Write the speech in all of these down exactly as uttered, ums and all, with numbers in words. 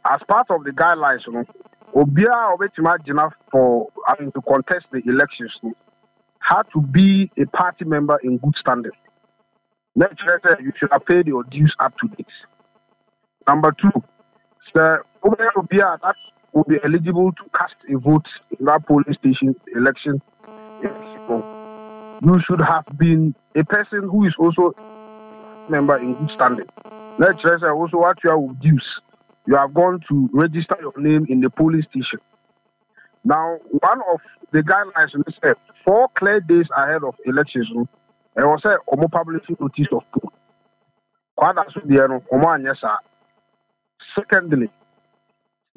As part of the guidelines no, obiara a ɔbɛtumi agyina for, I mean, to contest the elections no had to be a party member in good standing. Na kyerɛ sɛ you should have paid your dues up to date. Number two, sɛ wobɛyɛ obi a that will be eligible to cast a vote in that polling station election, you should have been a person who is also a member in good standing. Na kyerɛ sɛ also what you are with dues, you have gone to register your name in the polling station. Now, one of the guidelines is sɛ four clear days ahead of elections no, ɛwɔ sɛ ɔmo publishing notice of poll. Kwadaso deɛ no, ɔmo anyɛ saa. Secondly,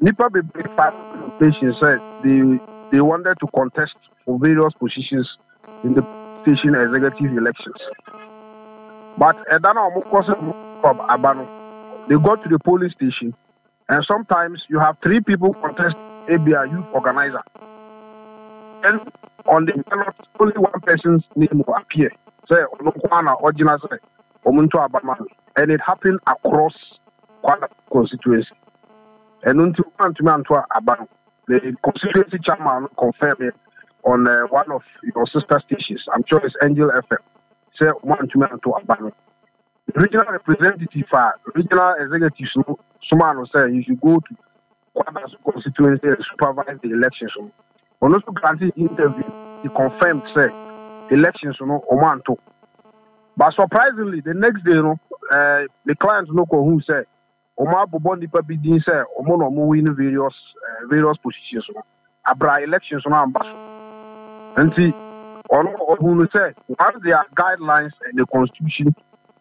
nipa bebree file application sɛ they they wanted to contest for various positions in the station executive elections. But ɛda na ɔmo kɔ sɛ ɔmo kɔ aba no, they got to the polling station and sometimes you have three people contest ebia youth organizer. And on the ballot, only one person's name will appear. Sɛ ɔno nko ara na ɔgyina sɛ ɔmo nto aba ma no. And it happened across Kwadaso constituency. Ɛno nti wɔantumi anto aba no. The constituency chairman confirmed it on uh, one of your sister stations. I'm sure it's Angel F M. Sɛ wɔantumi anto aba no. The regional representative, uh, regional executives no, soma no sɛ you should go to Kwadaso constituency and supervise the elections no. Ɔno nso granted interview. He confirmed sɛ elections no ɔmo anto. But surprisingly, the next day no, uh, the client no kɔ hu sɛ ɔmo abobɔ nipa bi din sɛ ɔmo na ɔmo win various uh, various positions no. Abra elections no amba so. Nti ɔno ɔhu no sɛ once there are guidelines and the constitution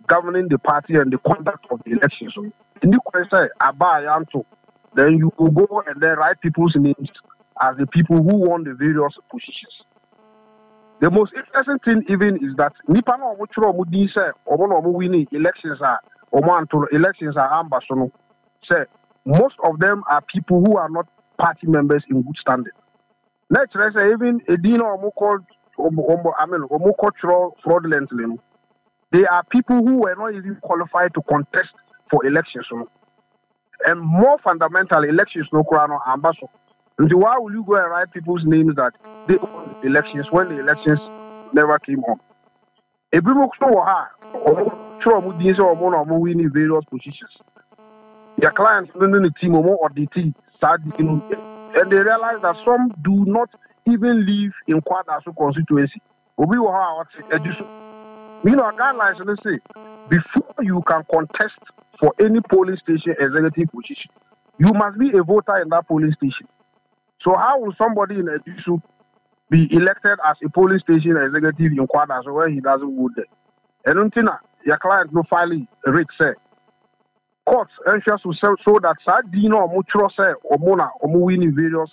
governing the party and the conduct of the elections no, nni kwan sɛ aba a yɛanto, then you will go and then write people's names as the people who won the various positions. The most interesting thing even is that nipa na ɔmo twerɛ ɔmo din sɛ ɔmo na ɔmo winning elections a ɔmo anto no, elections a amba so no, sɛ most of them are people who are not party members in good standing. Na kyerɛ sɛ even edin na ɔmo kɔ ɔmo ɔmo I mean, ɔmo kɔ twerɛ fraudulently no, they are people who were not even qualified to contest for elections no. And more fundamentally, elections no koraa no amba so. Nti why will you go and write people's names that they won the elections when the elections never came on? Ebinom nso wɔ ha a ɔmo twerɛ ɔmo din sɛ ɔmo na ɔmo win various positions. Their clients no ne ne team ɔmo audit saa din no and they realize that some do not even live in Kwadaso constituency. Obi wɔ hɔ a ɔte Ejisu. You know, guidelines no sɛ before you can contest for any polling station executive position, you must be a voter in that polling station. So how will somebody in Ejisu be elected as a polling station executive in Kwadaso where he doesn't vote there? Ɛno nti na your client no file writ sɛ court nhwɛ so sɛ so that saa din na ɔmo twerɛ sɛ ɔmo na ɔmo win in various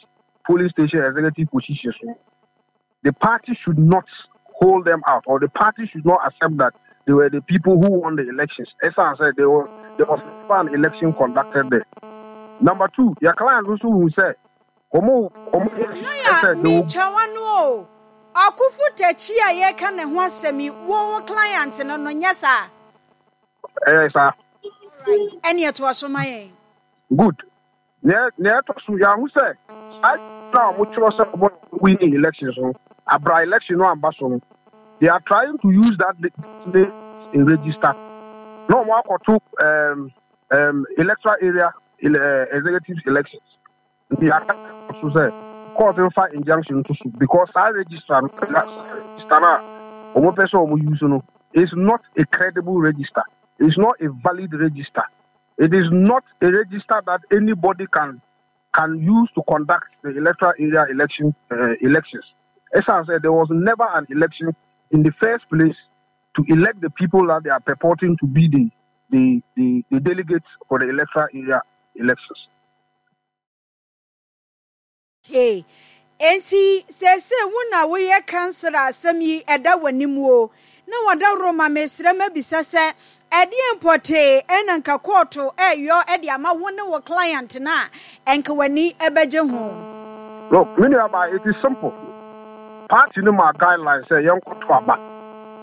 polling station executive positions no, the party should not hold them out or the party should not accept that they were the people who won the elections. Ɛsan sɛ there was there was never an election conducted there. Number two, your client nso hu sɛ ɔmo ɔmo Lawyer, sɛ they will mentwa no o. Ɔkofo Takyi a yɛka ne ho asɛm yi, wo wo client no no nyɛ saa? Ɛyɛ saa. Right. Ɛne ɛtoa so ma yɛn. Good. Nea nea ɛtɔ so, yɛahu sɛ saa na ɔmo twerɛ sɛ ɔmo winning elections no, abra election no amba so no, they are trying to use that name in register na ɔmo akɔto um, um, electoral area ele, uh, executive elections. Nti aka so sɛ court nfa injunction to so because saa register no, saa register no a ɔmo pɛ sɛ ɔmo use no is not a credible register. It's not a valid register. It is not a register that anybody can can use to conduct the electoral area election uh, elections. As I said, there was never an election in the first place to elect the people that they are purporting to be the the, the, the delegates for the electoral area elections. Okay. Enti sese wo na woyɛ counsel a asɛm yi ɛda w'anim o na wɔda roma, mesrɛ mabisa sɛ ɛdeɛ mpɔtee ɛna nka kɔɔto ɛyɔ ɛde ama wo ne wo client no a ɛnka w'ani ɛbɛgye ho? Look, me nuabaa, it is simple. Party no ma guidelines sɛ yɛnkɔto aba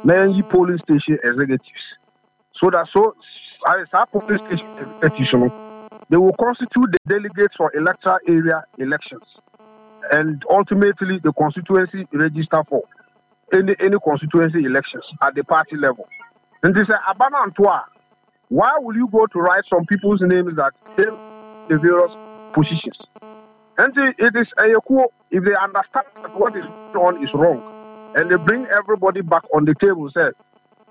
na yɛnyi polling station executives so that so saa polling station executives no They will constitute the delegates for electoral area elections and ultimately the constituency register for any any constituency elections at the party level. And they say, aba no anto a, why will you go to write some people's names that take the various positions? And it is a if they understand that what is going on is wrong, and they bring everybody back on the table, say,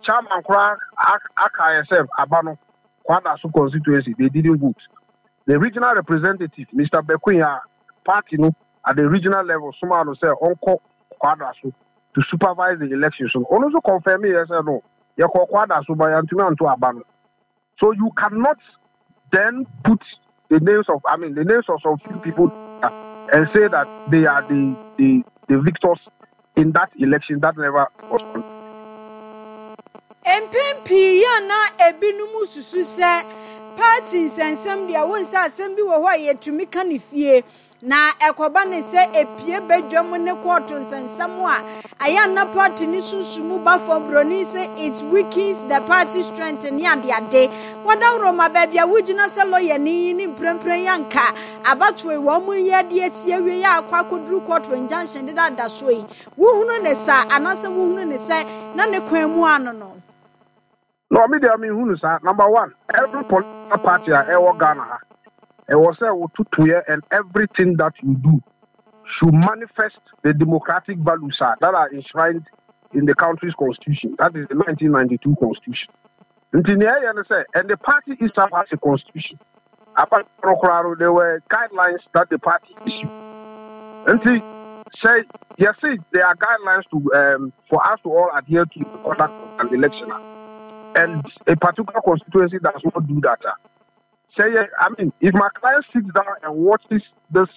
Chairman koraa aka sɛ aba no, Kwadaso constituency, they didn't vote. The regional representative, Mister Bekunya, party no, at the regional level, someone say, ɔnkɔ Kwadaso to supervise the election. So, also confirm me, yes or no. Yɛkɔ Kwadaso but yɛantumi anto aba no. So you cannot then put the names of, I mean, the names of some few people and say that they are the, the, the victors in that election that never was conducted. Mpɛn pii yɛ na ebinom susu sɛ party nsɛnsɛm deɛ, wo nsa asɛm bi wɔ hɔ a yɛtumi ka ne fie na ɛkɔba ne sɛ epie badwam ne kɔɔto nsɛnsɛm a ɛyɛ na party ne sunsumu ba fam. Broni sɛ it weakens the party strength ne adeade. Wɔdaworo ma baabi a wogyina sɛ lɔya ni ne mprempren yanka abatoɔ yi wɔn mu yɛ de asi awie yɛ akɔ akɔduru kɔɔto injunction deda so yi, wohunu ne sa anaasɛ wohunu ne sɛ na ne kwan mu ano no? No, me deɛ, mehunu saa. Number one, every political party a ɛwɔ Ghana ha, ɛwɔ sɛ wotutoyɛ and everything that you do should manifest the democratic values ah, that are enshrined in the country's constitution. That is the nineteen ninety-two constitution. Nti nea ɛyɛ no sɛ, and the party itself has a constitution. Apart from, there were guidelines that the party issued. Nti sɛ yɛse there are guidelines to um, for us to all adhere to the conduct of an election, and a particular constituency does not do that, ah, say, yeah, I mean, if my client sits down and watches this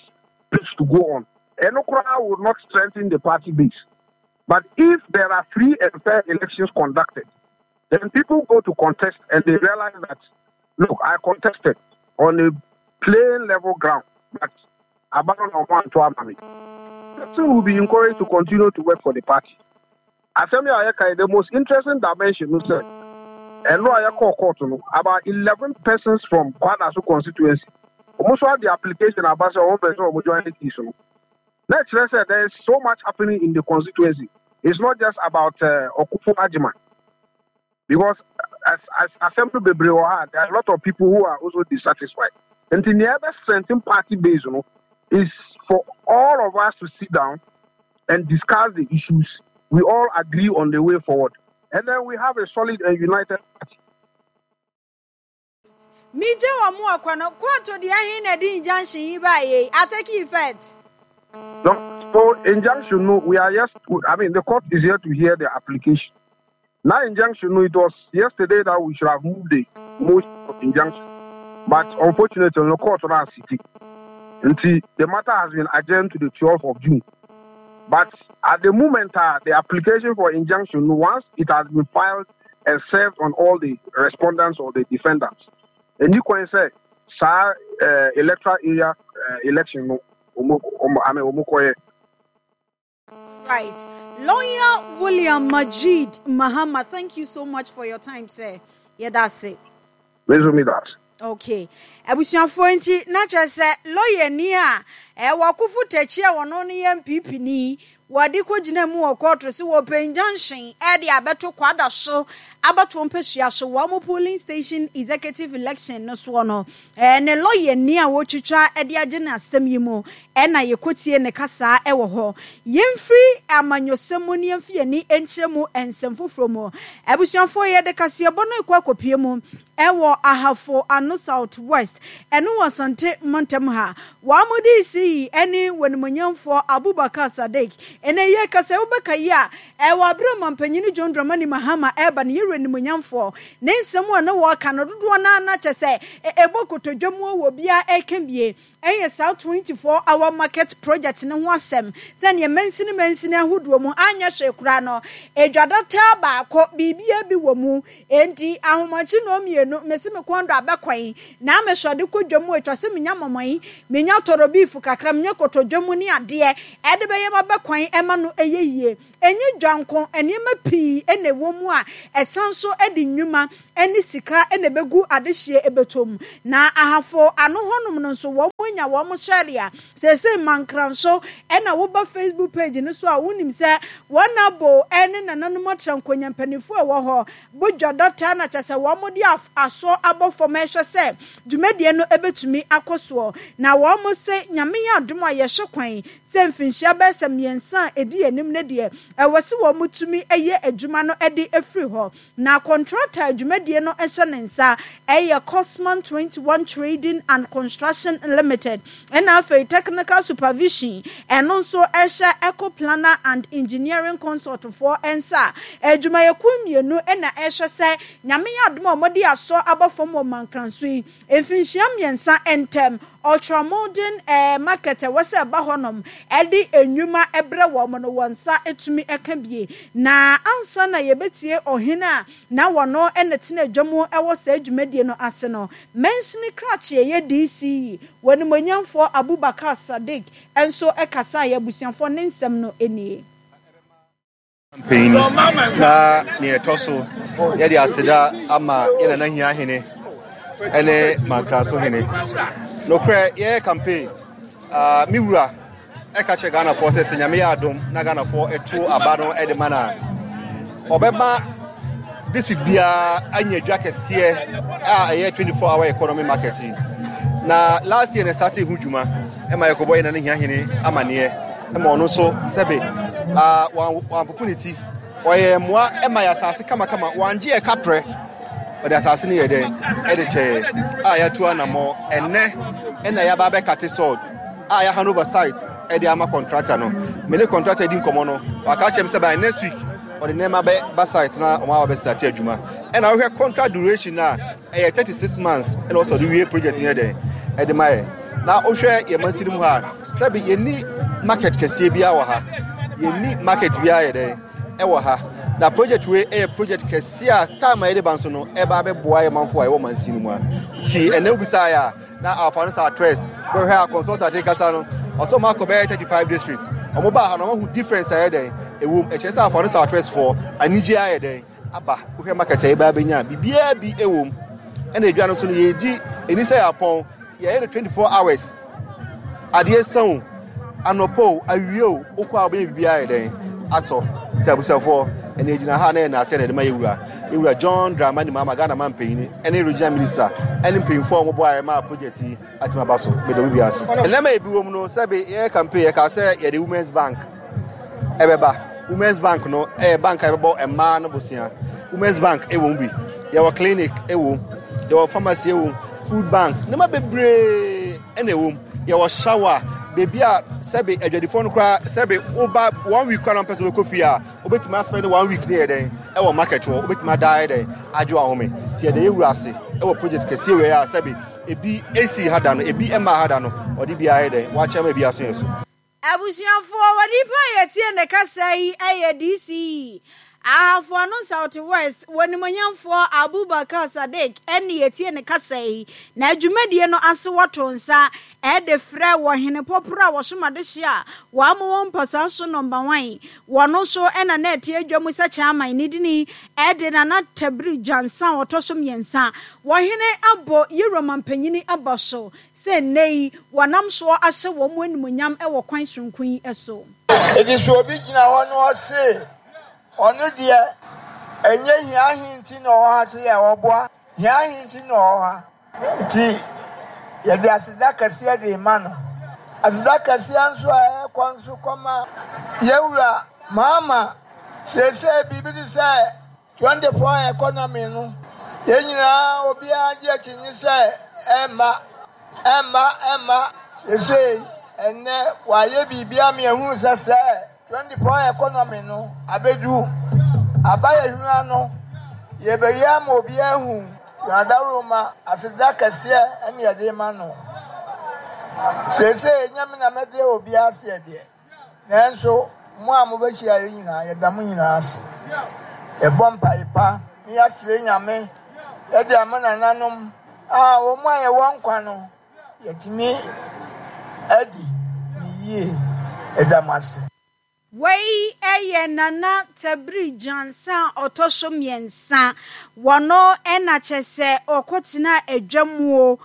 pitch to go on, ɛno koraa will not strengthen the party base. But if there are free and fair elections conducted, then people go to contest and they realize that, look, I contested on a plain level ground, but aba no anto ama me. Person will be encouraged to continue to work for the party. Asɛm a yɛka, the most interesting dimension no sɛ, ɛno a yɛkɔɔ court no, about eleven persons from Kwadaso constituency wɔn nso ade application aba sɛ wɔn pɛ sɛ wɔn join the case no. Na kyerɛ sɛ there is so much happening in the constituency. It's not just about uh, Okufo Agyeman, because as as asɛm no bebree wɔ ha, there are a lot of people who are also dissatisfied. Nti nea ɛbɛ strengthen party base no is for all of us to sit down and discuss the issues. We all agree on the way forward and then we have a solid and united party. Megye wɔ mo akɔ no kɔɔto deɛ ahe na ɛde injunction yi ba yɛ a take effect? No, so injunction no, we are yes, I mean, the court is here to hear the application. Now injunction no, it was yesterday that we should have moved the motion of injunction, but unfortunately the court now sitting. Nti the matter has been adjourned to the twelfth of June. But at the moment, uh, the application for injunction, once it has been filed and served on all the respondents or the defendants, and you can say, saa uh, electoral area uh, election no, omo, omo, I mean, omo kɔyɛ. Right. Lawyer William Majid Mahama, thank you so much for your time, sir. Yeah, that's it. Mezo me that. Okay. Abusuafoɔ, nti na kyerɛ sɛ lawyer ni a ɛwɔ Akofo Takyi a wɔno no yɛ N P P ni, wɔde kɔgyina mu wɔ kɔɔto sɛ wɔpɛ injunction ɛde abɛto Kwadaso abatoɔ mpɛsua so wɔn mo polling station executive election no soɔ no, ɛɛ ne lawyer ni a wɔtwitwa ɛde agye ne asɛm yi mu ɛna yɛkɔtie ne kasa ɛwɔ hɔ. Yɛmfiri amanyɔsɛm mu ne yɛmfi yɛni nkyerɛ mu nsɛm foforɔ mu. Abusuafoɔ, yɛde kaseɛbɔ no ekɔ akɔpie mu ɛwɔ Ahafo Ano South West, ɛno wɔ Asante mantam ha. Wɔn mo de si ɛne wɔnimonyamfoɔ Abubakar Sadiq ɛnɛ yɛ kasa. Wobɛka yi a ɛwɔ abere mampanyini John Dramani Mahama ɛreba ne yɛwura nimonyamfoɔ ne nsɛm a na wɔka no dodoɔ naa na kyɛ sɛ ɛbɔ kotodwe mu wɔ biara ɛka bie ɛyɛ saa twenty-four hour market project ne ho asɛm, sɛnea mansini mansini ahodoɔ mu anyɛ hwee koraa no, edwadataa baako biribia bi wɔ mu. Enti ahomakye na mmienu mesi me kɔn do abɛkwan na amehwɛde kɔ dwam atwa sɛ menya mɔmɔyi, menya tɔrɔ beef. kakra mnyɛ kotodwe mu ne adeɛ ɛde bɛyɛ ma bɛkwan ɛma no ɛyɛ yie. Ɛnyɛ dwanko, nneɛma pii ɛna ɛwɔ mu a ɛsan so ɛde nnwuma ɛne sika ɛna ɛbɛgu adehyeɛ ɛbɛtɔ mu. Na Ahafo Ano hɔnom no nso, wɔn anya wɔn hyɛre a seesei Mankranso. Ɛna woba Facebook page no so a, wonim sɛ wɔn abo ɛne nananom atra nkonya mpanimfoɔ a ɛwɔ hɔ bodwa dɔta na kyɛ sɛ wɔn de asɔ abɔ fam ɛhwɛ sɛ dwumadie no ɛbɛtumi akɔ soɔ. Na wɔn se Nyame yɛ adom a, yɛhwɛ kwan sɛ mfinhyia bɛyɛ sɛ mmiɛnsa a ɛdi anim no deɛ, ɛwɔ sɛ wɔn tumi ɛyɛ adwuma no ɛde afiri hɔ. Na contractor dwumadie no ɛhyɛ ne nsa ɛyɛ Cosman twenty-one Trading and Construction Limited, ɛna afei technical supervision ɛno nso ɛhyɛ Eco Planner and Engineering Consult foɔ nsa. Adwumayɛkuo mmienu ɛna ɛhwɛ sɛ Nyame yɛ adom a, wɔde asɔ abɔ fam wɔ Mankranso yi, mfinhyia mmiɛnsa ntɛm ultramodern ɛɛ market ɛwɔ sɛ ɛba hɔnom ɛde enwuma ɛbrɛ wɔn no, wɔn nsa etumi ɛka bie. Na ansa na yɛbɛtie ɔhene a na wɔn ɛna tena adwa mu ɛwɔ saa dwumadie no ase no, mansini krakye ɛyɛ D C E wɔn nimonyamfoɔ Abubakar Sadiq ɛnso ɛkasa yɛ abusuafoɔ ne nsɛm no nie. Panyin na nea ɛtɔ so, yɛde aseda ama yɛn nana hia hene ɛne Mankraso hene. Nokorɛ, yɛyɛ campaign, uh, me wura ɛka kyerɛ Ghanafoɔ sɛ sɛ Nyame yɛ adom na Ghanafoɔ ɛto aba no ɛde ma no a, ɔbɛma district biara anya dwa kɛseɛ a ɛyɛ twenty-four hour economy market yi. Na last year na start ho dwuma ɛma yɛkɔbɔ yɛn nana hia hene amanneɛ, ɛma ɔno nso sɛbe wampopo ne ti, ɔyɛ mmoa ɛma yɛ asase kamakama, wangye yɛ kaprɛ, ɔde asase no yɛ dɛn ɛde kyɛɛ a yɛatu anammɔ. Ɛnnɛ ɛna yɛaba abɛcut sod a yɛahand over site ɛde ama contractor no. Me ne contractor di nkɔmmɔ no, waka kyerɛ me sɛ by next week ɔde nneɛma bɛ ba site na ɔmo aba bɛstart adwuma. Ɛna wohwɛ contract duration a, ɛyɛ thirty-six months ɛna ɔsɔ de wie project yɛ dɛn ɛde ma yɛ. Na wohwɛ yɛn mansi no mu ha, sɛbi, yɛnni market kɛseɛ biara wɔ ha, yɛnni market biara yɛ dɛn ɛwɔ ha. Na project wei ɛyɛ project kɛseɛ a time a yɛde ba nso no ɛba abɛboa yɛ manfo a ɛwɔ mansi no mu a. Nti ɛnɛ wobisa yɛ a, na afa no sɛ address bɛhwɛ a, consultant kasa no, ɔsɛ ɔmo akɔ bɛyɛ thirty-five districts, ɔmo baa ha na ɔmo ahu difference a ɛyɛ dɛn ɛwɔ mu. Ɛkyerɛ sɛ afa no sɛ address foɔ anigye ayɛ dɛn aba. Wohwɛ market a yɛbɛ abɛnya, biribiara bi ɛwɔ mu. Ɛna edwa no nso no, yɛdi ɛni sɛ yɛapɔn, yɛyɛ no twenty-four hours. Adeɛ sa o, anɔpɔ o, awie o, wokɔ a wobɛyɛ biribiara yɛ dɛn atɔ. Nti abusuafoɔ, ɛna egyina ha na yɛ naase na yɛde ma yɛwura yɛwura John Dramani Mahama, Ghana man panyin, ɛne regional minister ɛne mpanyinfoɔ a wɔbɔ ayɛ ma project yi atumi aba so. Meda obi bi ase. Nneɛma ebi wɔ mu no, sɛbi, yɛyɛ campaign, yɛka sɛ yɛde Women's Bank ɛbɛba. Women's Bank no ɛyɛ bank a yɛbɛbɔ mmaa no bosia. Women's Bank ɛwɔ mu bi, yɛwɔ clinic ɛwɔ mu, yɛwɔ pharmacy ɛwɔ mu, food bank, nneɛma bebree ɛna ɛwɔ mu. Yɛwɔ shower, beebi a sɛbi adwadifoɔ no koraa, sɛbi, woba one week koraa na mpɛ sɛ wobɛkɔ fie a, wobɛtumi aspend one week ne yɛ dɛn ɛwɔ market hɔ, wobɛtumi ada yɛ dɛn agye ahome. Nti yɛde yɛwura ase ɛwɔ project kɛseɛ wei a sɛbi ebi esi ha da no, ebi ɛma ha da no, ɔde bi ayɛ dɛn wakyerɛ ma ebi aso yɛn so. Abusuafoɔ, wɔ nipa a yɛtie ne kasa yi ɛyɛ D C E Ahafo Ano South West wɔ nimonyamfoɔ Abubakar Sadiq ɛne yɛtie ne kasa yi. Na adwumadie no ase, wɔto nsa ɛde frɛ wɔ hene pɔporɔ a wɔsom adehye a wɔama wɔn mpasaa so number one, wɔno nso ɛna na ɛte adwa mu sɛ chairman ne dini ɛde Nana Tabiri Gyansa a wɔtɔ so mmiɛnsa. Wɔhene abɔ yɛwura mampanyini aba so sɛ nnɛ yi wɔnam soɔ ahyɛ wɔn mu animonyam wɔ kwan soronko yi so. Eti sɛ obi gyina hɔ na ɔse ɔno deɛ ɛnyɛ hia ahe nti na ɔwɔ ha, sɛ yɛ ɔboa hia ahe nti na ɔwɔ ha, nti yɛde aseda kɛseɛ de ma no. Aseda kɛseɛ nso a ɛkɔ nso kɔma yɛwura Maama. Seesei biribi te sɛ twenty-four economy no, yɛn nyinaa obiara gye akyinnye sɛ ɛmma, ɛmma, ɛmma. Seesei ɛnnɛ wayɛ biribi ama yɛhunu sɛ sɛ twenty-four economy no abɛdu aba yɛ hwene ano, yɛbɛyɛ ama obiara ahu. Yɛn aseda kɛseɛ ɛne yɛde ma no. Seesei nyame na mɛde obiara aseɛ deɛ, nanso mo a mobɛhyia yɛ nyinaa, yɛda mo nyinaa ase. Yɛbɔ mpae pa ne yɛasrɛ Nyame yɛde ama nananom a wɔn a yɛwɔ nkwa no yɛtumi adi. ne yie. Ɛda mo ase. Wei yɛ Nana Tabiri Gyansa a ɔtɔ so mmiɛnsa. Wɔno na kyɛ sɛ ɔkɔtena adwa mu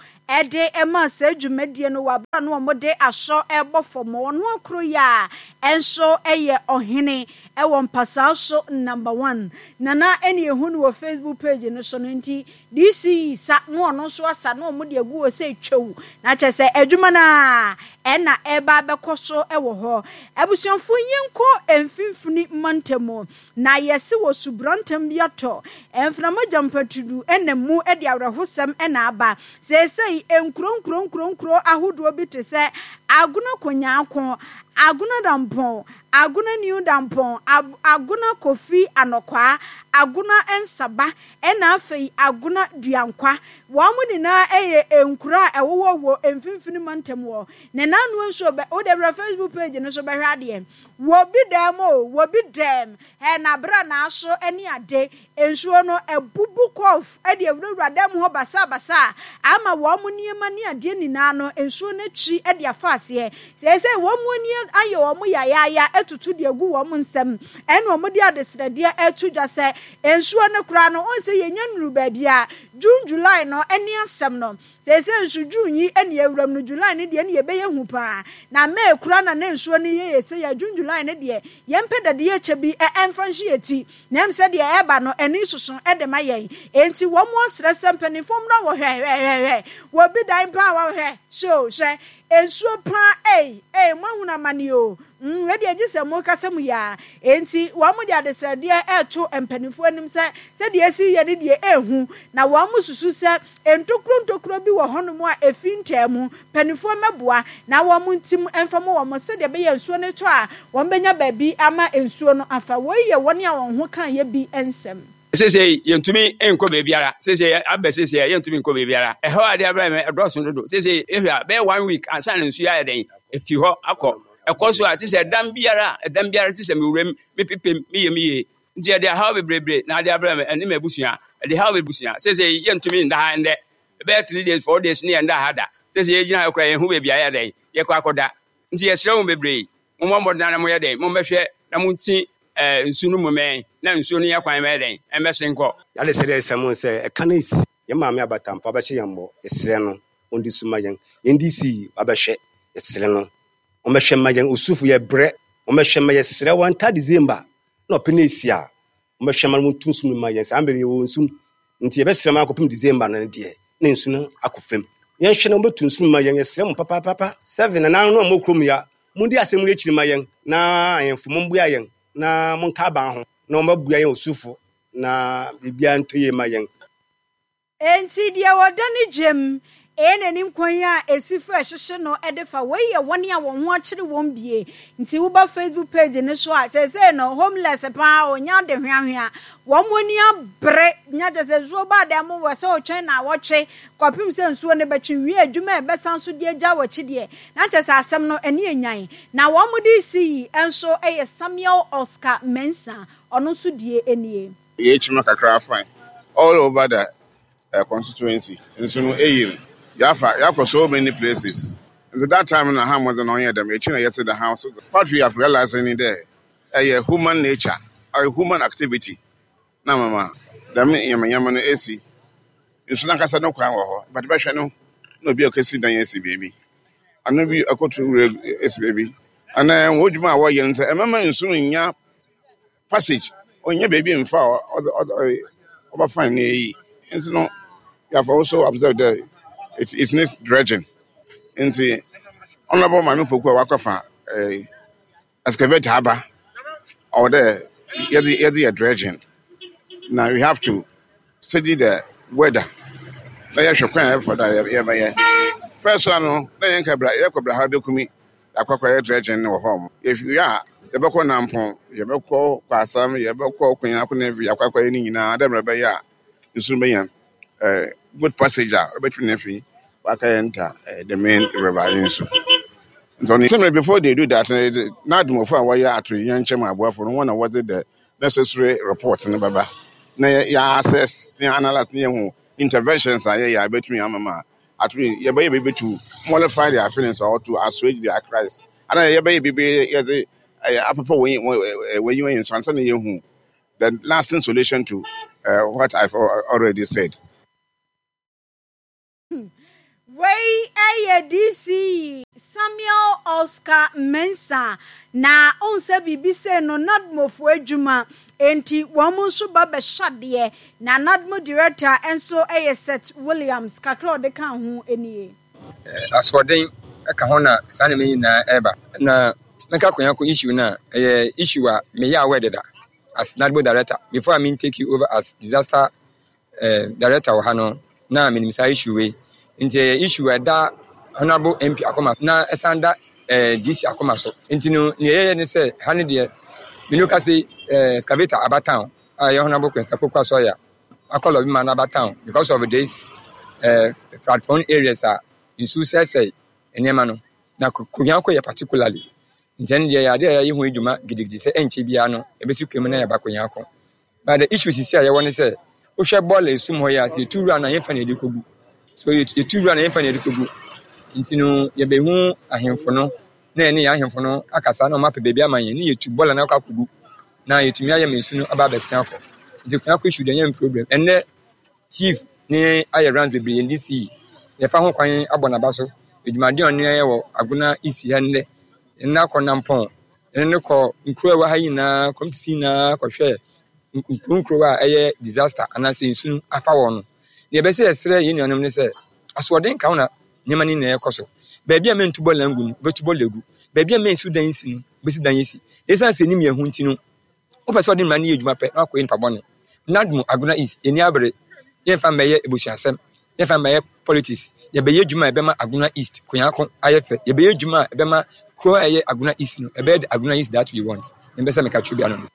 de ma saa dwumadie no wɔ abere a na wɔde asɔ rebɔ fam. Ɔno akoro yi a nso yɛ ɔhene wɔ mpasaa so number one. Nana ɛne ehu no wɔ Facebook page no so no, nti D C sa na ɔno nso asa na wɔn de agu hɔ sɛ twɛw, na kyɛ sɛ adwuma no a ɛna ɛreba abɛkɔ so wɔ hɔ. Abusuafoɔ, yɛnkɔ mfimfini mantam na yɛse wɔ subrantam bi atɔ mframa gyampatudu ɛna mu de awerɛhosɛm ɛna aba. Seesei nkuro nkuro nkuro nkuro ahodoɔ bi te sɛ Agona Konyaako, Agona Dampɔn, Agona New Dampɔn, Agona Kofi Anɔkwaa, Agona Nsaba, ɛna afei Agona Duankwa. Wɔn mo nyinaa yɛ nkuro a ɛwowɔ wɔ mfimfini mantam wɔ ne nanu nso bɛ wode wura Facebook page no so bɛhwɛ adeɛ wɔ bi dɛm o, wɔ bi dɛm ɛ na abere n'aso ne ade nsuo no abubu kɔf de awurawura dɛm hɔ basabasa ama wɔn mo nneɛma ne adeɛ nyinaa no nsuo no akyi de afa aseɛ. Sɛsɛ wɔn mo ani ayɛ wɔn yayaaya atutu de agu wɔn nsam, ɛna wɔn de adesrɛdeɛ ɛto dwa sɛ nsuo no koraa no wɔn sɛ yɛnya nnuru baabi a June, July no ɛne asɛm no. Sɛsɛ nso June yi ɛne awuram no, July no deɛ ne yɛbɛyɛ hu paa, na May kora na ne nsuo no yɛ yɛ sɛ yɛ June, July no deɛ yɛmpɛ dadeɛ kyɛ bi ɛmfa nhye yɛ ti na ɛm sɛ deɛ ɛba no ɛne soso ɛde ma yɛn. Enti wɔn mo asrɛ sɛ mpanimfoɔ mmra wɔ hwɛ hwɛ hwɛ hwɛ wɔ bi dan paa wɔ hwɛ so hwɛ nsuo paa. Ei ei, mo ahunu amane o. mm wei deɛ gye sɛ mo kasa mu yaa. Enti wɔn mo de adesrɛdeɛ ɛɛto mpanimfoɔ anim sɛ sɛdeɛ esi yɛ ne deɛ ehu, na wɔn mo susu sɛ ntokuro ntokuro bi wɔ hɔnom a efi ntɛɛ mu. Mpanimfoɔ mɛboa na wɔn mo ntim mfa mo wɔn sɛdeɛ ɛbɛyɛ nsuo no tɔ a wɔn bɛnya baabi ama nsuo no afa. Wɔyi yɛ wɔn a wɔn ho kan yɛ bi nsɛm. Sese yɛntumi nkɔ baabiara. Sese abɛ, sese yɛntumi nkɔ baabiara. Ɛhɔ ade abɛrɛ mɛ ɛdɔɔso dodo. Sese ehwɛ a bɛyɛ one week ansa na nsuo ayɛ dɛn efi hɔ akɔ. Ɛkɔ so a te sɛ ɛdan biara, ɛdan biara te sɛ mewuram mepepem meyɛ meyie, nti yɛde ahaw bebrebe na ade abrɛ me ɛne m'abusua. Ɛde haw bebusua. Sese yɛntumi nda ha ndɛ bɛyɛ three days, four days ne yɛnda ha da. Sese yɛgyina ha koraa, yɛnhu baabi a yɛ dɛn yɛkɔ akɔda, nti yɛsrɛ wo bebree, mommɔ mmɔden na moyɛ dɛn mommɛhwɛ na monti ɛɛ nsu no mu mɛn na nsuo no yɛ kwan mɛyɛ dɛn ɛmbɛsen nkɔ. Yɛade sɛ dɛ sɛm sɛ ɛka no esi yɛn maame abatampa bɛhyɛ yɛn mmɔ. Yɛsrɛ no ɔndi so ma yɛn. Yɛn D C abɛhwɛ, yɛsrɛ no ɔmmɛhwɛ ma yɛn. Osufo yɛbrɛ, ɔmmɛhwɛ ma yɛsrɛ wɔn nta December na ɔpɛ no esi a ɔmmɛhwɛ ma no wɔntu nsu no ma yɛn. Saa mbere yɛwɔ nsu nti yɛbɛsrɛ ma akɔpem December no deɛ na nsu no akɔ fam. Yɛnhwɛ na wɔbɛtu nsu no ma yɛn. Yɛsrɛ mo papaapapa. Seven nananom no a mowɔ kurom ya, mondi asɛm no akyiri ma yɛn na ahemfo momboa yɛn na monka aban ho na wɔbɛboa yɛn osufo na biribiara ntɔ yie ma yɛn. Enti deɛ wɔda ne gyem ɛyɛ n'anim kwan a esi fa ɛhyehyɛ no ɛde fa. Wei yɛ wɔn a wɔn ho akyere wɔn bie, nti woba Facebook page ne so a sɛsɛ no homeless paa onya de hweahwea wɔn mo ani abere nya kyɛ sɛ nsuo ba dan mu wɔ sɛ ɔtwɛn na awɔtwe kɔpem sɛ nsuo no bɛtwe wie adwuma a ɛbɛsan so de agya wɔ akyi deɛ na kyɛ sɛ asɛm no ɛne enyan. Na wɔn mo de si yi nso yɛ Samuel Oscar Mensah, ɔno nso die nie. Yɛkyima kakra fine all over the uh, constituency nso no eyi no yɛafa yɛakɔ so many places, nti that time na ha mmɔdze na ɔnyɛ dɛm ekyi na yɛte the house. What we have realized ni dɛ ɛyɛ human nature, ɛyɛ human activity na mama dɛm nyamanyama no esi. Nsu nankasa no kwan wɔ hɔ, but bɛhwɛ no na obi a ɔkɛsi dan esi beebi ano bi akɔto wura esi beebi anaa wɔn dwuma a wɔyɛ no sɛ ɛmɛma nsu no nya passage, ɔnya beebi mfa a ɔde ɔde ɔbɛfa ne eyi. Nti no you have also observed that it, it needs dredging, nti Honourable Maame Poku a wakɔfa ɛɛ excavator aba ɔwɔ dɛ yɛde yɛde yɛ dredging na we have to study the weather na yɛhwɛ kwan a yɛfa do a yɛbɛyɛ. First one no na yɛn ka bra yɛkɔ bra ha bɛkumi akɔkɔ yɛ dredging wɔ hɔ. Yɛfi a yɛbɛkɔ Nampɔn, yɛbɛkɔ Kwasam, yɛbɛkɔ Konyako ne akɔ akɔyɛ ne nyinaa dɛ mmerɛ bɛyɛ a nsu bɛnya ɛɛ good passage a ɔbɛtumi ne fi waka yɛn nta ɛɛ the main river yi nso. Nti ɔno sɛ before they do that na adumofo a wɔyɛ atoyerɛnkyɛm aboafo no wɔn na wɔde the necessary report no bɛba na yɛ yɛ assess na yɛ analyse na yɛhu interventions a yɛyɛ a bɛtumi ama ma atumi yɛbɛyɛ biribi to mollify their feelings or to assuage their cries. Ana yɛbɛyɛ biribi yɛdze apepa wɔn wɔn wɔn nso ansa na yɛhu the lasting solution to uh, what I've already said. Wei ɛyɛ D C Samuel Oscar Mensah, na ɔnsɛ biribi sɛ no NADMOfoɔ adwuma enti wɔn nso ba bɛhyɛ adeɛ, na NADMO director nso yɛ Seth Williams. Kakra a ɔde ka ho nie. Asoɔden ka ho na saa nneɛma nyinaa ɛreba. Na mɛka Kwanyako issue no a, ɛyɛ issue a meyɛ aware deda as NADMO director before I mean take you over as disaster uh, director wɔ ha no, na menim saa issue wei. Nti ɛyɛ issue a ɛda Honourable M P akoma na ɛsan da eh, D C akoma so. Nti no, nea ɛyɛ ne sɛ ha ne deɛ menu ka se eh, excavator aba town a ɛyɛ Honourable Quincy Poku Asɔya akɔlɔ bi ma no aba town because of this eh, flood prone areas a nsuo sɛesɛe nneɛma no, na Kwanyako yɛ particularly. Nti ɛno deɛ, yɛ adeɛ a yɛayɛ ho adwuma gidigidi sɛ ɛnkyɛ biara no ɛbɛsi kwan mu na yɛaba Kwanyako. But the issue sisi a yɛwɔ ne sɛ, wohwɛ bɔɔla esum hɔ yi a, sɛ yɛtu wura no a, yɛmfa na yɛde kɔgu so, yɛtu wura no, yɛmfa na yɛde kɔgu. Nti no, yɛbɛhu ahemfo no na yɛne yɛn ahemfo no akasa na wɔn apɛ baabi ama yɛn ne yɛtu bɔɔla no akɔ akɔgu na yɛtumi ayɛ ma nsu no aba abɛsen akɔ. Nti Kwanyako issue deɛ, ɛnyɛ problem. Ɛnnɛ chief ne ayɛ rounds bebree, yɛn D C yɛfa ho kwan abɔ n'aba so adwumaden a ɔne ayɛ wɔ Agona East ha. Nnɛ yɛne akɔ Nampɔn, yɛne no kɔ nkuro a ɛwɔ ha nyinaa, community nyinaa, kɔhwɛ nkuro nkuro a ɛyɛ disaster anaasɛ nsu no afa wɔn no. Deɛ ɛbɛsɛ yɛsrɛ yɛn nuanom ne sɛ, asoɔden ka ho na nneɛma no nyinaa ɛkɔ so. Baabi a mɛntu bɔɔla ngu no, wobɛtu bɔɔla gu. Baabi a mɛnsi dan si no, wobɛsi dan asi. Ɛsiane sɛ nim yɛn ho nti no, wopɛ sɛ ɔde mmara no yɛ adwuma pɛ na wakɔyɛ nipa bɔne. NADMO Agona East, yɛni abere. Yɛmfa mmɛyɛ abusuasɛm, yɛmfa mmɛyɛ politics. Yɛbɛyɛ adwuma a ɛbɛma Agona East Kwanyako ayɛ fɛ. Yɛbɛyɛ adwuma a ɛbɛma kuro a ɛyɛ Agona East no ɛbɛyɛ the Agona East that we want. Mbɛ sɛ meka kyerɛ bi ano no.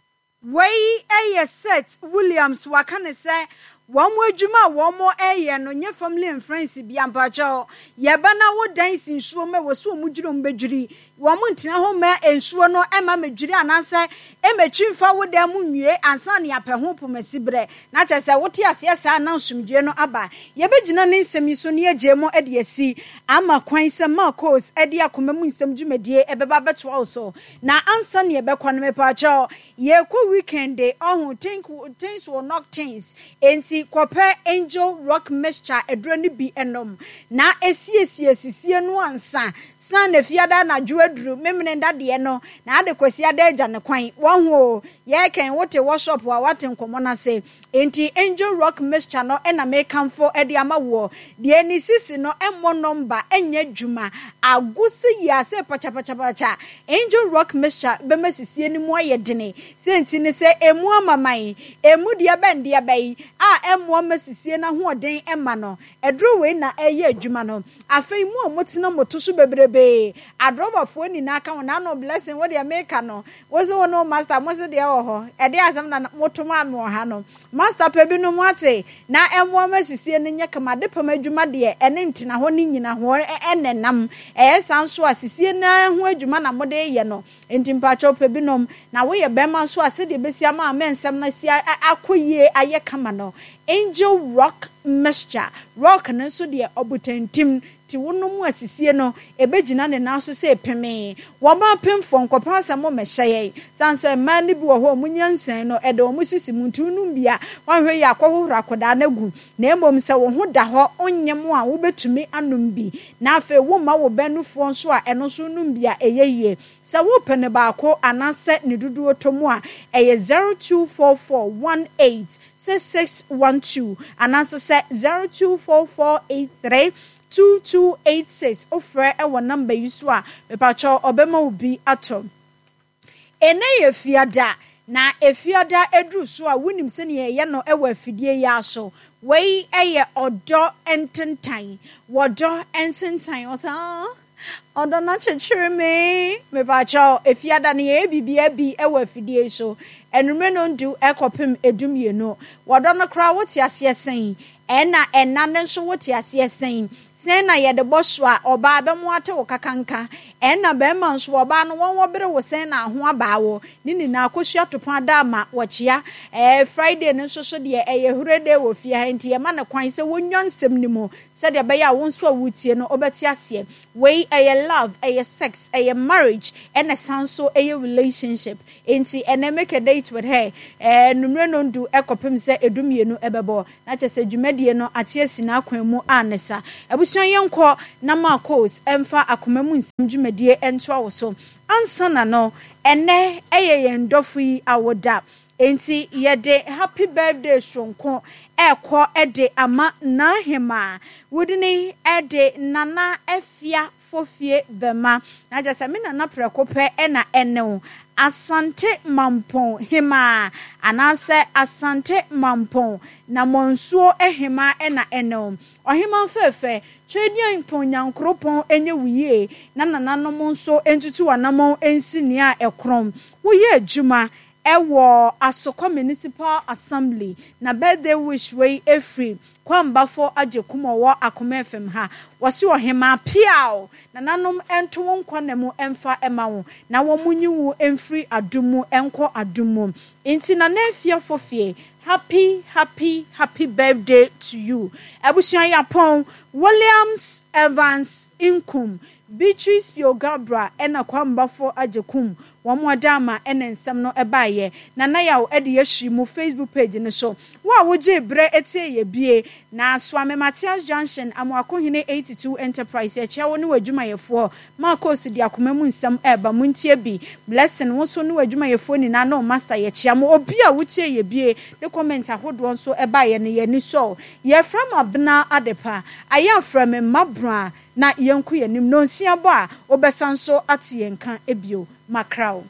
Wei yɛ Seth Williams. Waka ne sɛ wɔn mo adwuma a wɔn mo ɛyɛ no nyɛ family and friends bi ampakyɛw. Yɛba na wo dan si nsuo mu, ɛwɔ so wɔn dwiri, wɔn bɛdwiri. Wɔn ntena hɔ ma nsuo no ɛma mɛdwiri anaasɛ ɛmɛtwi mfa wo dan mu nwie ansa ne apɛ ho pomasi berɛ na kyerɛ sɛ wote aseɛ saa na nsomdwie no aba. Yɛbɛgyina ne nsɛm yi so ne yɛgye mu de asi ama kwan sɛ Marcos de akoma mu nsɛm dwumadie ɛbɛba bɛtoa wo so. Na ansa ne yɛbɛkɔ no, mepaakyɛw, yɛkɔ weekend de ɔho think things will knock things. Enti kɔpɛ Angel Rock mixture aduro no bi ɛnom na esiesie sisie no ansa san na fiada anadwo aduru memene dadeɛ no na ade kwasi ada agya ne kwan wɔn ho. Yɛkɛn wote workshop a wate nkɔmɔ n'ase. Enti Angel Rock mixture no ɛna mekamfo ɛde ama woɔ deɛ ne sisi no ɛmmɔ nɔmba, ɛnyɛ adwuma agosi yi ase pakyapachapakya. Angel Rock mixture bɛma sisie no mu ayɛ dene. Sɛ nti ne sɛ emu amaman emu deɛ bɛn deɛ bɛyi a ɛmmoa ma sisie no ahoɔden ɛma no, ɛduro wei na ɛyɛ adwuma no. Afei mu a motena moto so bebrebee, adrɔbafoɔ nyinaa ka ho n'ano. Blessing, wo deɛ meka no, wo se wo no master mo se deɛ wɔ hɔ ɛde asɛm na moto maa me wɔ ha no. Master pɛ binom ate na ɛmmoa ma sisie no nyɛ kama de pam adwuma deɛ ɛne ntena hɔ ne nyina hɔ ɛnɛ nam ɛyɛ saa nso a sisie no ho adwuma na mode yɛ no. Nti mpakyɛw, pɛ binom. Na woyɛ bɛrima nso a, sɛdeɛ bɛsi ama ama nsɛm no asi akɔ yie ayɛ kama no, Angel Rock mixture, rock no nso deɛ ɔbotantim nti wonom asisie no ɛbɛgyina ne nan so sɛ pemee. Wɔn apemfoɔ nkɔpɛ asɛm mmɛhyɛ yɛn san sɛ mmaa no bi wɔ hɔ a wɔn nyansan no ɛde wɔn sisi mu. Nti wonom bi a, wɔahwɛ yɛ akɔhohoro akɔdaa no agu. Na mmom sɛ wo ho da hɔ onyɛ mu a, wobɛtumi anom bi. Na afei womma wo bɛnofoɔ nso a, ɛno nso nom bi a ɛyɛ yie. Sɛ wopɛ ne baako anaasɛ ne dodoɔ tɔ mu a, ɛyɛ zero two four four one eight six six one two anaasɛ sɛ zero two four four eight three two two eight six. Wofrɛ ɛwɔ number yi so a, mepakyɛw, ɔbɛma wo bi atɔ. Ɛnɛ yɛ fiada, na efiada eduru so a, wonim sɛnea ɛyɛ no ɛwɔ afidie yi aso. Wei ɛyɛ Ɔdɔ Ntentan. Wɔdɔ Ntentan, ɔsɛ aa ɔdɔ no akyekyere me. Mepakyɛw, efiada no yɛyɛ biribiara bi ɛwɔ afidie yi so enumere no ndu ɛkɔpem edu mmienu. Wɔdɔ no koraa, wote aseɛ sɛn? Ɛna ɛna no nso, wote aseɛ sɛn? Sɛn na yɛde bɔ so a ɔbaa bɛmo ate wo kakanka, ɛnna bɛrima nso ɔbaa no wɔn wɔbere wo sɛn na aho abaa wɔ ne nyinaa akosua topɔn ada ama wɔkyea. ɛɛ Friday no nso so deɛ, ɛyɛ hure day wɔ fie ha, nti yɛma no kwan sɛ wɔnwa nsɛm no mu sɛdeɛ ɛbɛyɛ a wo nso a wotie no wobɛte aseɛ. Wei ɛyɛ love, ɛyɛ sex, ɛyɛ marriage, ɛna san so ɛyɛ relationship. Nti ɛnɛ make a date with her. ɛɛ numere no ndu ɛkɔpem sɛ edu mmienu ɛbɛbɔ na kyerɛ sɛ dwumadie no ate asi n'akwan mu a ne sa. Abusua, yɛnkɔ na Marcos ɛmfa akoma mu nsɛm dwumadie ɛntoa wo so. Ansa na no, ɛnɛ ɛyɛ yɛn dɔfo yi awoda, nti yɛde happy birthday soronko ɛkɔ ɛde ama n'ahema wodini ɛde Nana Afia Fofie Bɛma, na kyerɛ sɛ me nana prɛko pɛ ɛna ɛne Asante Mampɔn hemaa anaasɛ Asante Mampɔn na Mɔnsuo hemaa ɛna ɛne ɔhemaa fɛɛfɛ. Twɛdeɛ Nyankoropɔn ɛnyɛ wo yie na nananom nso ntutu anammɔn nsi nea ɛkorɔn. Woyɛ adwuma ɛwɔ Asokwa Municipal Assembly, na birthday wish wei efiri Kwambafo agye kum ɔwɔ Akoma F M ha. Wɔsi ɔhemaa piaw, nananom nto wo nkwa na mu ɛmfa ɛma wo na wɔn mu nyi wo mfiri adum mu ɛnkɔ adum mu. Nti Nana Efia Fofie, happy, happy, happy birthday to you. Abusua, yapɔn Williams Evans Nkum, Beatrice Pio Gabra, ɛna Kwambafo agye kum wɔn ada ama ɛna nsɛm no ɛbaayɛ. Nana Yaw ɛde yɛhyi mu Facebook page no so. Wo a wogye berɛ etie yɛ bie na Suame Matias Junction, Amoakohene eighty-two Enterprise, yɛkyia wo ne w'adwumayɛfoɔ. Marcos de akoma mu nsɛm ɛɛba mu, ntie bi. Blessing, wo nso ne w'adwumayɛfoɔ nyinaa ne wo master, yɛkyia mo. Obi a wotie yɛ bie ne comment ahodoɔ nso ɛbaayɛ no, yɛni sɔ. Yɛfrɛ mo Abena Adepa ayɛ afrɛ me mmabra na yɛnko yɛnim nonsia bɔ a wobɛsan so ate yɛn ka ebio. Makraw.